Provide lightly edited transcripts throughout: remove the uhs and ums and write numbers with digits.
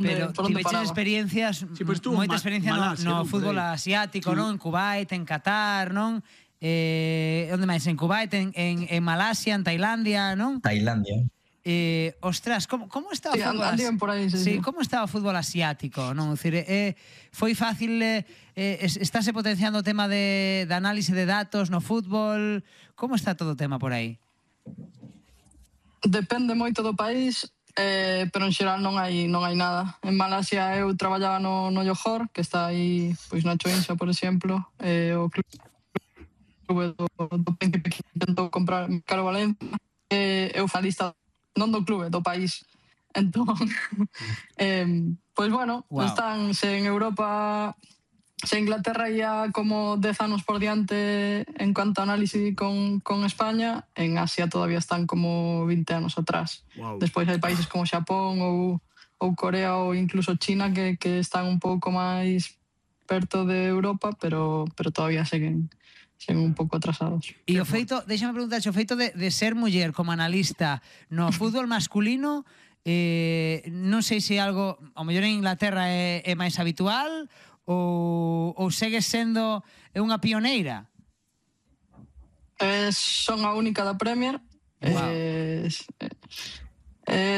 Pero tiveches experiencias, moita experiencia no fútbol asiático, non? En Kuwait, en Qatar, non? Onde máis? En Kuwait, en Malasia, en Tailandia, non? Tailandia. Ostras, como está o fútbol asiático? Como está o fútbol asiático, non? Foi fácil, estáse potenciando o tema de análise de datos no fútbol? Como está todo o tema por aí? Depende moito do país, pero en xeral non hai nada. En Malasia eu traballaba no Johor, que está aí pois na Choinsa, por exemplo, o clube do Príncipe que intentou comprar Caro Valencia, eu fa lista non do clube, do país. Entón, pois bueno, están en Europa. Se Inglaterra ia como 10 anos por diante en cuanto a análisis con España, en Asia todavía están como 20 anos atrás. Despois hai países como Xapón ou Corea ou incluso China que están un pouco máis perto de Europa, pero todavía seguen un pouco atrasados. E o feito, déxame preguntar, o feito de ser muller como analista no fútbol masculino, non sei se algo, ao mellor en Inglaterra é máis habitual ou segues sendo unha pioneira? Son a única da Premier.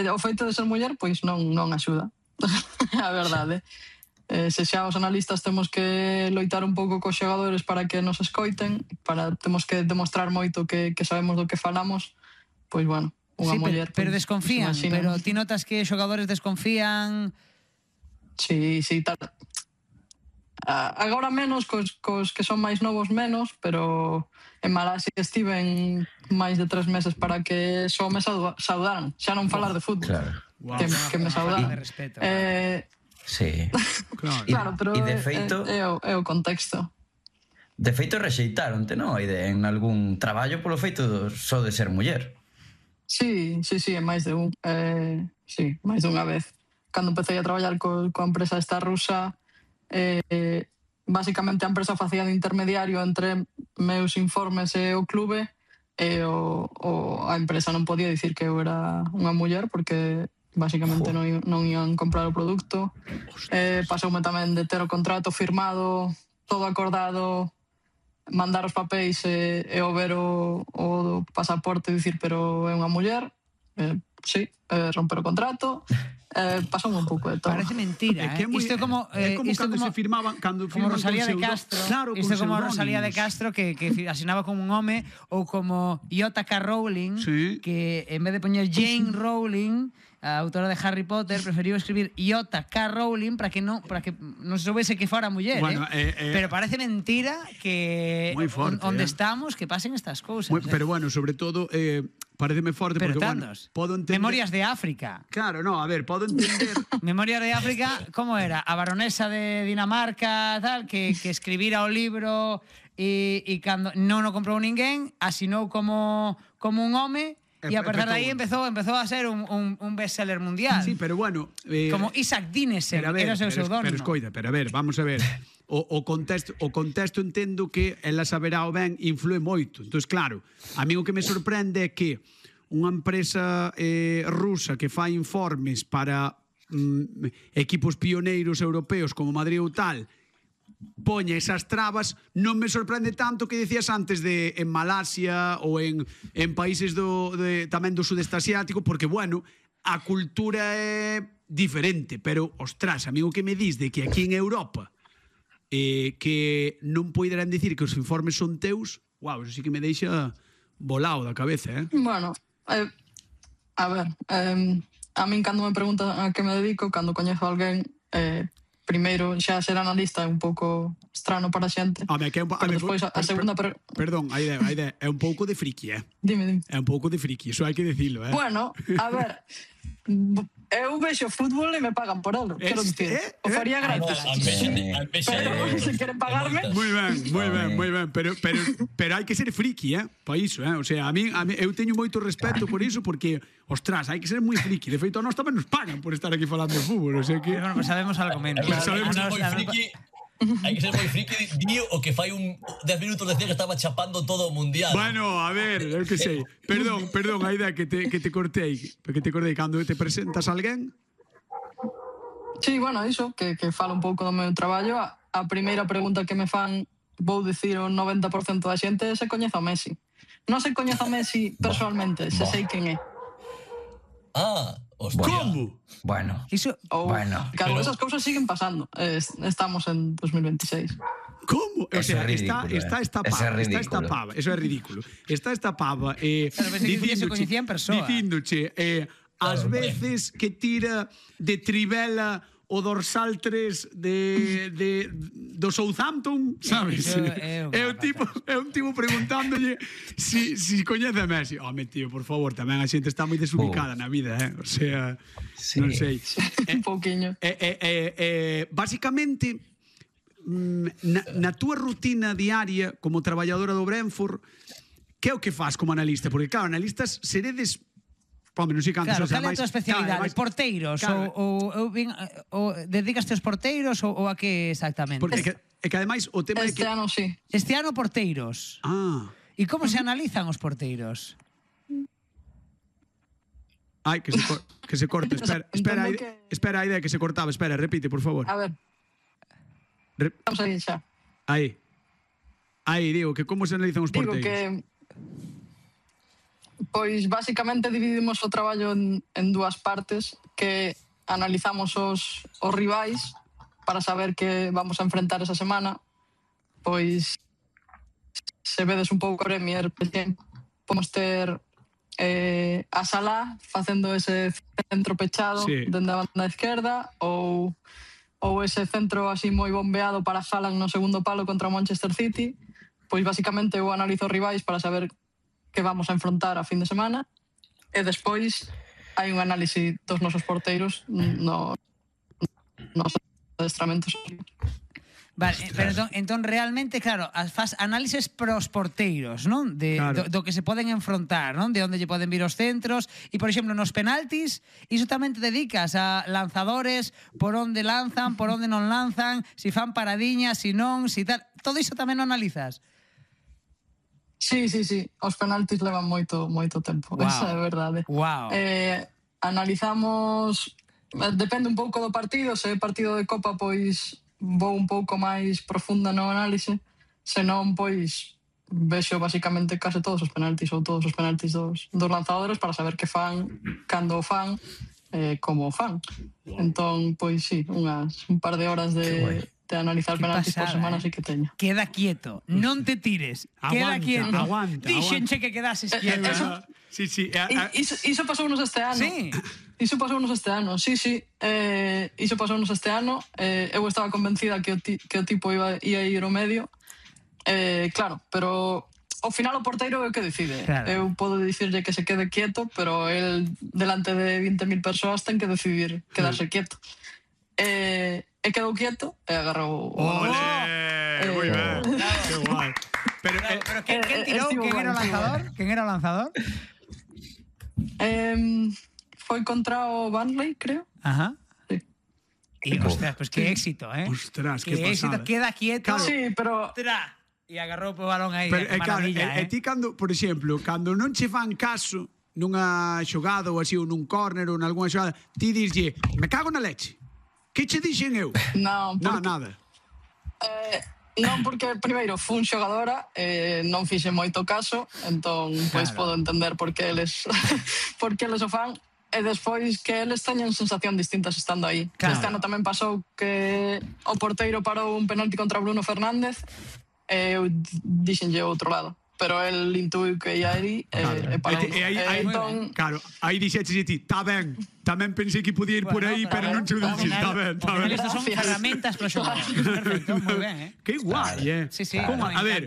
O feito de ser muller pois non axuda. A verdade. Se xa os analistas temos que loitar un pouco cos xogadores para que nos escoiten, temos que demostrar moito que sabemos do que falamos, pois bueno, unha muller... Pero desconfían, pero ti notas que os xogadores desconfían? Sí, tal. Agora menos, cos que son máis novos menos, pero en Malasia estiven máis de 3 meses para que só me saudaran, xa non falar de fútbol, que me saudaran. Sí. Claro, pero é o contexto. De feito rexeitaronte, non? En algún traballo polo feito só de ser muller. Sí, é máis de un. Sí, máis de unha vez. Cando empecé a traballar coa empresa esta rusa, basicamente a empresa facía de intermediario entre meus informes e o clube, e a empresa non podía dicir que eu era unha muller porque basicamente non ian comprar o produto. Pasoume tamén de ter o contrato firmado, todo acordado, mandar os papéis e o ver o pasaporte e dicir pero é unha muller, romper o contrato. Pasoume un pouco de todo. Parece mentira, isto é como cando se firmaban, como Rosalía de Castro. Isto é como Rosalía de Castro que asinaba como un home, ou como J.K. Rowling, que en vez de poñer Jane Rowling, a autora de Harry Potter, preferiu escribir J.K. Rowling para que non se soubese que fora muller, pero parece mentira que onde estamos que pasen estas cousas. Pero bueno, sobre todo pareceme forte porque podo entender... Memorias de África. Claro, no, a ver, podo entender... Memorias de África, como era? A baronesa de Dinamarca, tal, que escribira o libro e cando non o comprou ninguén, asinou como un home. E a partir de aí empezou a ser un bestseller mundial. Sí, pero bueno... Como Isaac Dinesen, era o seu pseudónimo. Pero escoita, a ver, vamos a ver. O contexto entendo que ela saberá o ben influe moito. Entón, claro, a mí o que me sorprende é que unha empresa rusa que fai informes para equipos pioneiros europeos como Madrid ou tal, poña esas trabas, non me sorprende tanto que decías antes en Malasia ou en países tamén do sudeste asiático, porque, bueno, a cultura é diferente, pero, ostras, amigo, que me dis de que aquí en Europa que non poderán dicir que os informes son teus, eso sí que me deixa volado da cabeza, Bueno, a ver, a min cando me preguntan a que me dedico, cando coñezo a alguén, primeiro, xa ser analista é un pouco estrano para a xente. Pero despois a segunda... Perdón, a idea é un pouco de friki, Dime. É un pouco de friki, iso hai que dicilo, Bueno, a ver, eu vexo fútbol e me pagan por ele, quero dicir. O faría gratis. Pero se queren pagarme... Moi ben, pero hai que ser friki, para iso, o sea, a mí eu teño moito respeto por iso, porque, ostras, hai que ser moi friki. De feito, a nós tamén nos pagan por estar aquí falando de fútbol, o sea que... Bueno, pues sabemos algo menos. Hai que ser moi friki. Dio o que fai 10 minutos decía que estaba chapando todo o mundial. Bueno, a ver, eu que sei. Perdón, a idea que te cortei. Cando te presentas a alguén... Sí, bueno, iso, que falo un pouco do meu traballo. A primeira pregunta que me fan, vou dicir o 90% da xente, se coñece o Messi. Non se coñece o Messi personalmente, se sei quen é. Hostia. Como? Bueno, Claro, esas cousas siguen pasando. Estamos en 2026. Como? O sea, está esta pava. Eso é ridículo. Está esta pava dicíndoche ás veces que tira de trivela o dorsal 3 do Southampton, sabes? É un tipo preguntándolle si coñece a Messi. Home, tío, por favor, tamén a xente está moi desubicada na vida, O sea, non sei. Un pouquiño. Básicamente, na túa rutina diaria como traballadora do Brentford, que é o que faz como analista? Porque, claro, analistas seredes... Pome, non sei cantos, claro, cal é a tua especialidade? Porteiros? Ou dedicaste aos porteiros ou a que exactamente? Porque é que ademais o tema é que... Este ano, sí. Este ano porteiros. E como se analizan os porteiros? Ai, que se corta. Espera a idea que se cortaba. Espera, repite, por favor. A ver. Vamos a ir xa. Aí, digo, que como se analizan os porteiros? Digo que... Pois, basicamente, dividimos o traballo en dúas partes, que analizamos os rivais para saber que vamos a enfrentar esa semana. Pois, se vedes un pouco a Premier, podemos ter a Salah facendo ese centro pechado dende a banda esquerda, ou ese centro así moi bombeado para Haaland no segundo palo contra o Manchester City. Pois, basicamente, eu analizo os rivais para saber que vamos a enfrontar a fin de semana, e despois hai un análise dos nosos porteiros nos adestramentos. Vale, pero entón realmente, claro, faz análises pros porteiros, non? Do que se poden enfrontar, non? De onde lle poden vir os centros, e, por exemplo, nos penaltis, iso tamén te dedicas a lanzadores, por onde lanzan, por onde non lanzan, si fan paradiñas, si non, si tal... Todo iso tamén o analizas? Sí. Os penaltis levan moito tempo. Esa é a verdade. Analizamos... Depende un pouco do partido. Se é partido de Copa, pois vou un pouco máis profunda no análise. Se non, pois vexo basicamente case todos os penaltis ou todos os penaltis dos lanzadores para saber que fan, cando o fan, como o fan. Entón, pois sí, un par de horas de analizar penaltis por semana sí que teño. Queda quieto, non te tires. Queda quieto. Aguanta. Dixenche que quedases quieto. Sí. Iso pasounos este ano. Sí. Iso pasounos este ano, sí. Iso pasounos este ano. Eu estaba convencida que o tipo ia ir ao medio. Claro, pero ao final o porteiro é o que decide. Eu podo dicirlle que se quede quieto, pero el, delante de 20.000 persoas, ten que decidir quedarse quieto. E quedou quieto e agarrou... Ole! Moi ben, que guai. Pero quen tirou? Quen era o lanzador? Foi contra o Burnley, creo. Ajá. Sí. E, ostras, pues que éxito, Ostras, que pasada. Queda quieto. Sí, pero... E agarrou o balón aí. Pero, maravilla, e ti cando, por exemplo, cando non che fan caso nunha xogada ou así, ou nun córner ou nalgúna xogada, ti dislle, me cago na leche. Que che dixen eu? Non, nada. Non, porque primeiro fun xogadora, non fixe moito caso, entón pois podo entender por que eles o fan, e despois que eles teñen sensación distintas estando aí. Este ano tamén pasou que o porteiro parou un penalti contra Bruno Fernández e eu dixenlle o outro lado. Pero el intuiu que ia aí e parou. Entón... Claro, aí dixeches ti, tá ben, tamén pensei que podía ir por aí, pero non che o dixen, tá ben. Estos son ferramentas para xogar. Perfecto, moi ben, Que guai, Sí, a ver,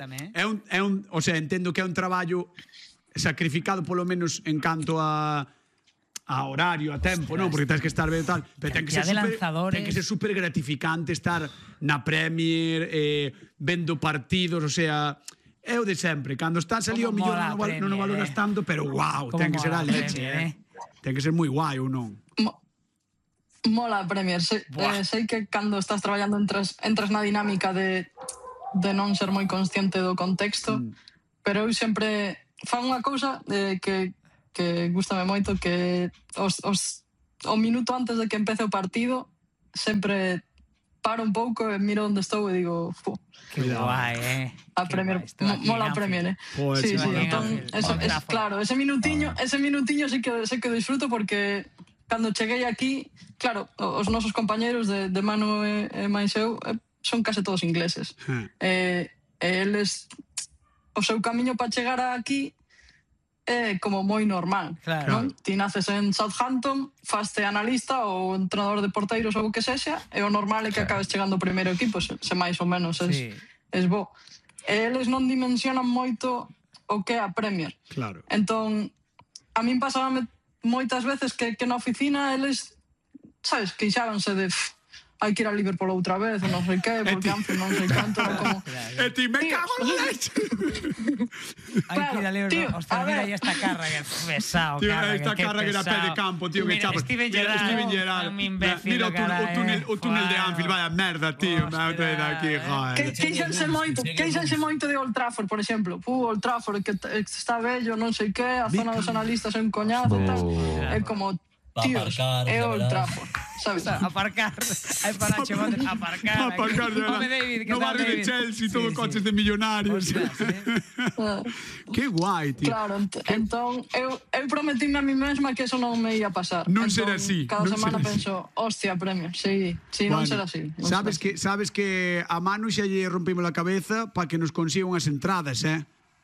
o sea, entendo que é un traballo sacrificado polo menos en canto a horario, a tempo, non? Porque tens que estar ben e tal, pero ten que ser super gratificante estar na Premier, vendo partidos, o sea... É o de sempre, cando estás ali ao millón non o valoras tanto, pero guau, ten que ser a leche, ten que ser moi guai ou non? Mola a Premier, sei que cando estás traballando entras na dinámica de non ser moi consciente do contexto, pero eu sempre fan unha cousa que gústame moito, que o minuto antes de que empece o partido sempre paro un pouco e miro onde estou e digo, que guai, a Premier, mola a Premier, sí, entón, claro, ese minutiño sí que disfruto porque cando cheguei aquí, claro, os nosos compañeros de Manu e máis eu son case todos ingleses. Eles, o seu camiño para chegar aquí é como moi normal. Ti naces en Southampton, faste analista ou entrenador de porteiros ou o que sexa, e o normal é que acabes chegando ao primeiro equipo, se máis ou menos es bo. Eles non dimensionan moito o que é a Premier. Entón, a min pasábame moitas veces que na oficina eles, sabes, queixábanse de hai que ir a Liverpool outra vez, non sei que, porque Anfield non sei canto, como... E ti, me cago en la leche! Hai que ir a Liverpool, hostia, mira aí esta Carragher, pesado, Carragher, esta Carragher a pé de campo, tío, que chapas. Steven Gerrard, un imbécil, mira o túnel de Anfield, vaya merda, tío, me de aquí, joder. Queixanse moito de Old Trafford, por exemplo. Old Trafford, que está bello, non sei que, a zona dos analistas é un coñazo, tal. É como... Tíos, é Old Trafford, sabes? Aparcar, hai para chamar aparcar. Home, David, que no barrio de Chelsea, todo coches de millonarios. Que guai, tío. Claro, entón, eu prometíme a mí mesma que eso non me ia pasar. Non será así. Cada semana penso, hostia, Premier, sí, non será así. Sabes que a Manu xa lle rompimos a cabeza para que nos consiga unhas entradas,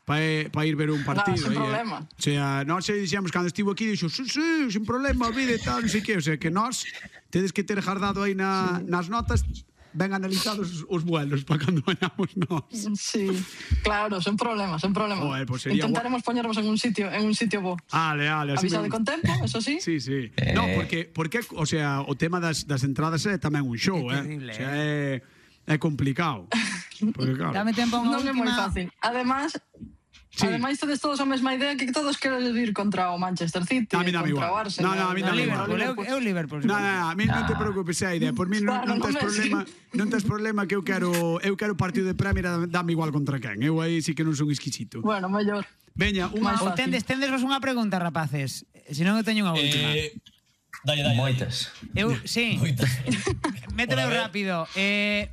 para ir ver un partido. Sin problema. O sea, nós dixemos, cando estivo aquí, dixo, sí, sin problema, vida e tal, non sei que. O sea, que nós tedes que ter jardado aí nas notas ben analizados os vuelos para cando vayamos nós. Sí, claro, sen problema. Joder, pues intentaremos poñernos en un sitio bo. Ale. Avisade con tempo, eso sí. Sí. No, porque, o sea, o tema das entradas é tamén un show, É terrible, O sea, é complicado. Porque, claro, dame tempo a unha última... Non é moi fácil. Ademais, tedes todos a mesma idea que todos queren ir contra o Manchester City, contra o Arsenal. No, a mí non me igual. Eu Liverpool. No, a mí non te preocupes a idea. Por mí non tes problema que eu quero partido de Premier, dame igual contra quen. Eu aí sí que non son exquisito. Bueno, mellor. Veña, ou tendes unha pregunta, rapaces. Se non eu teño unha última. Dale. Moitas. Sí. Mételo rápido.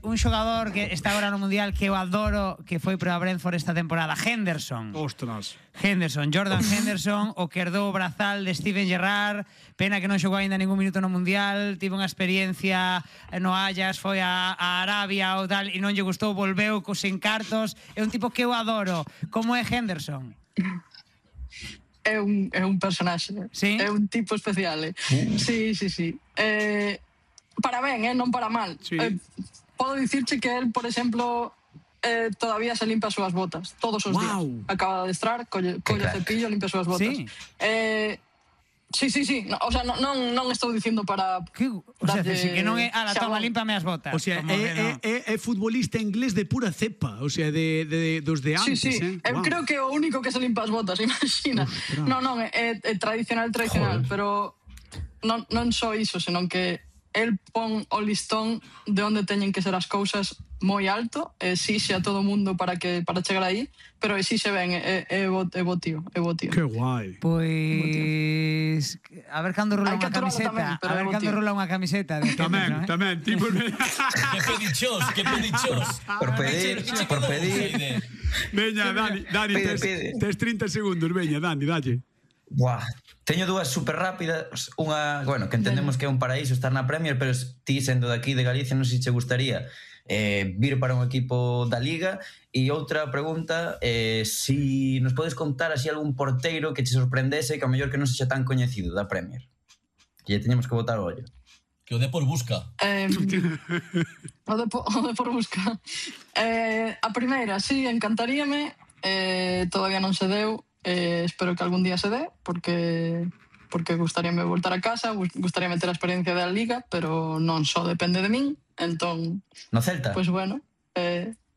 Un xogador que está agora no Mundial que eu adoro, que foi para Brentford esta temporada, Henderson. Ostras. Jordan Henderson, o que herdou o brazal de Steven Gerrard. Pena que non xogou ainda ningún minuto no Mundial. Tive unha experiencia no Ajax, foi a Arabia ou tal, e non lle gustou, volveu cos encartos. É un tipo que eu adoro. Como é Henderson? É un personaxe, é un tipo especial. Sí. Para ben, non para mal. Podo dicirche que el, por exemplo, todavía se limpa as súas botas todos os días. Acaba de adestrar, colle cepillo, limpa as súas botas. Sí. O sea, non estou dicindo para... O sea, que non é... toma, límpame as botas. O sea, é futbolista inglés de pura cepa. O sea, dos de antes. Sí. Eu creo que é o único que se limpa as botas, imagina. Non, é tradicional, pero non só iso, senón que el pon o listón de onde teñen que ser as cousas moi alto, exixe a todo mundo para chegar aí, pero exixe ben, é bo tío. Que guai. Pois a ver cando rola unha camiseta, Tamén, tipo. Que pedichos. Por pedir. Veña, Dani, tes 30 segundos, veña, Dani, dalle. Buah, teño dúas super rápidas. Unha, bueno, que entendemos que é un paraíso estar na Premier, pero ti sendo de aquí de Galicia non sei se che gustaría vir para un equipo da Liga. E outra pregunta, si nos podes contar así algún porteiro que che sorprendese, que ao mellor que non sexa tan coñecido da Premier, que lle teñamos que botar o ollo. Que o Depor busca. O Depor busca. A primeira, sí, encantaríame. Todavía non se deu. Espero que algún día se dé, porque gustaríame voltar a casa, gustaríame ter a experiencia da Liga, pero non só depende de min. Entón, no Celta? Pois bueno,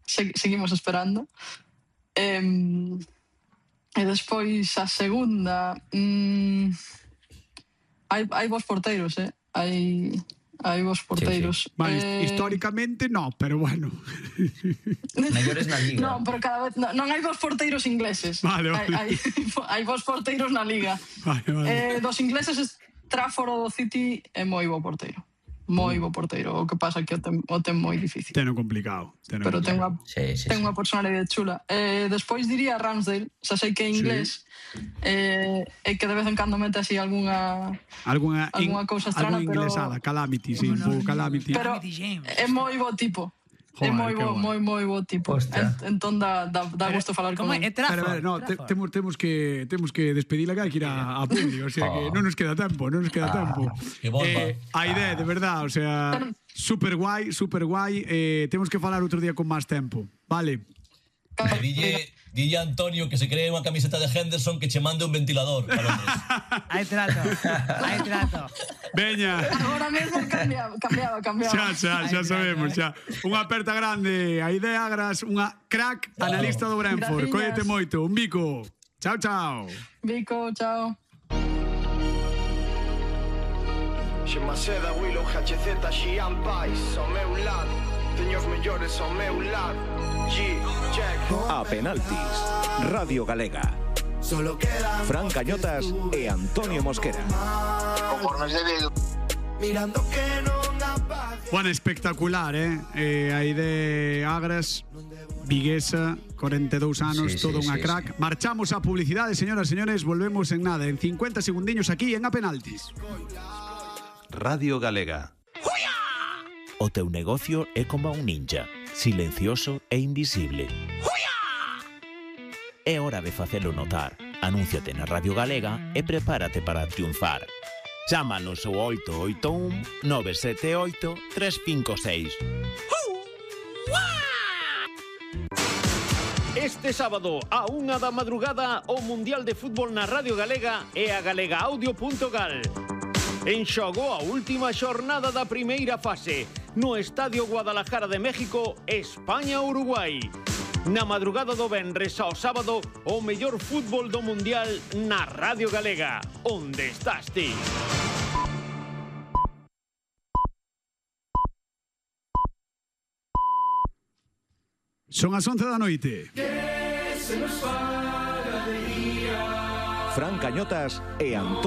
seguimos esperando. E despois a segunda, hai bons porteiros, hai bons porteiros. Sí. Mas, históricamente no, pero bueno. Mellores na Liga. Non, pero cada vez non hai bons porteiros ingleses. Vale. Hai bons porteiros na Liga. Vale. Dos ingleses, Trafford do City é moi bo porteiro. moi bo porteiro, o que pasa que o ten moi difícil. Teno complicado. Pero ten unha personalidade chula. Despois diría Ramsdale, xa sei que é inglés, e que de vez en cando mete así alguna cousa estrana, pero... Alguna inglesada, Calamity, sí, un pouco Calamity. Pero é moi bo tipo. É moi bo tipo. Entón dá gusto falar con ele. Pero temos que despedir acá, que ir a Publi, o sea que non nos queda tempo. A idea, de verdad, o sea, super guai, temos que falar outro día con máis tempo, vale? Dille a Antonio que se cree unha camiseta de Henderson que che mande un ventilador para Londres. Hai trato. Veña. Agora mesmo cambiaba. Xa sabemos, xa. Unha aperta grande, a idea Agras, unha crack analista do Brentford. Cóllete moito, un bico. Chao. Bico, chao. Xemaceda, Willow, HZ, Xian Pais, ao meu lado. Teño os mellores ao meu lado. A penaltis, Radio Galega. Fran Cañotas e Antonio Mosquera. Conformes debido. Mirando que non apague. Bueno, espectacular, aí de Agras, viguesa, 42 anos, todo unha crack. Marchamos a publicidade, señoras e señores, volvemos en nada, en 50 segundiños aquí en A Penaltis. Radio Galega. O teu negocio é como un ninja, silencioso e invisible. É hora de facelo notar. Anúnciate na Radio Galega e prepárate para triunfar. Chámanos ao 881 978 356. Este sábado, a 1 da madrugada, o Mundial de Fútbol na Radio Galega e a galegaaudio.gal. En xogo a última xornada da primeira fase, no Estadio Guadalajara de México, España-Uruguai. Na madrugada do venres ao sábado, o mellor fútbol do Mundial na Radio Galega. Onde estás ti? Son as 11 da noite. Fran Cañotas e Antonio